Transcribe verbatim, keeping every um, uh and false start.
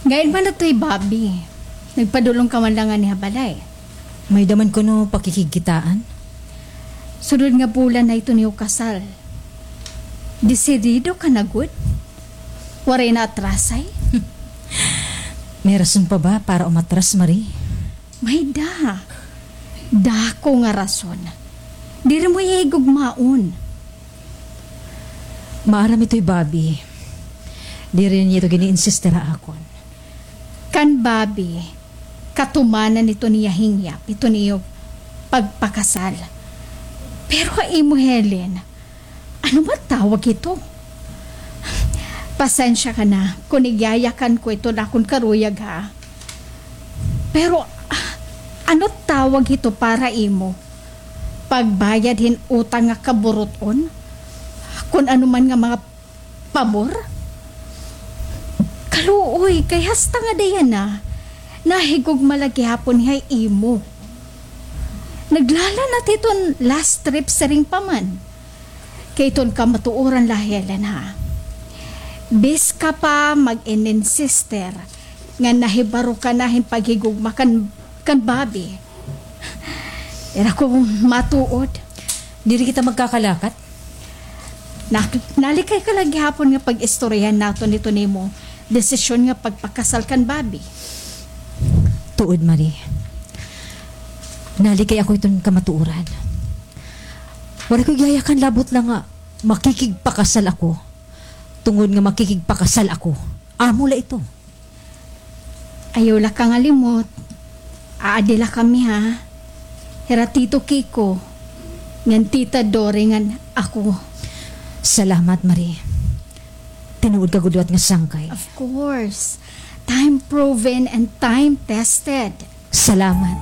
Ngain man adto hi Bobby. Nagpadulong ka man la ngani ha balay. May-ada man kuno pakikigkitaan? Sunod nga bulan na ito niyo kasal. Desidido ka na gud? Waray na atrasay? May rason pa ba para umatras, Marie? May-ada. Dako nga rason. Diri mo iya higugmaon. Maaram ito hi Bobby. Diri niya ito gin-iinsister ha akon. Kan Bobby, katumanan ito niya hingyap, ito niyo pagpakasal. Pero ha imo, Helen, ano man tawag ito? Pasensya ka na kon igyayakan ko ito ha akon karuyag, ha? Pero, ah, ano tawag ito para imo? Pagbayad hin utang nga kaburut-on? Kon ano man nga mga pabor? Kaluoy, kay hasta nga Diana, nahigugma la gihapon ha imo. Naglalanat hiton last trip siring pa man. Kay iton kamatuoran la, Helen, ha. Bis ka pa mag-ininsister nga nahibaro ka na hin paghigugma kan, kan Bobby. Diri ako matuod. Diri kita magkakalakat? Nak-, nalikay ka la gihapon nga pag-istoryahan naton ito nimo desisyon nga pagpakasal kan Bobby. Tuod, Marie. Nalikay ako iton kamatuoran. Waray ko igyayakan labot la nga makikigpakasal ako. Tungod nga makikigpakasal ako. Amo la ito. Ayaw la ka ngalimot. Aadi la kami, ha. Hira Tito Kiko, ngan Tita Dore, ngan ako. Salamat, Marie. Tinuod ka gud liwat nga sangkay. Of course. Time proven and time tested. Salamat.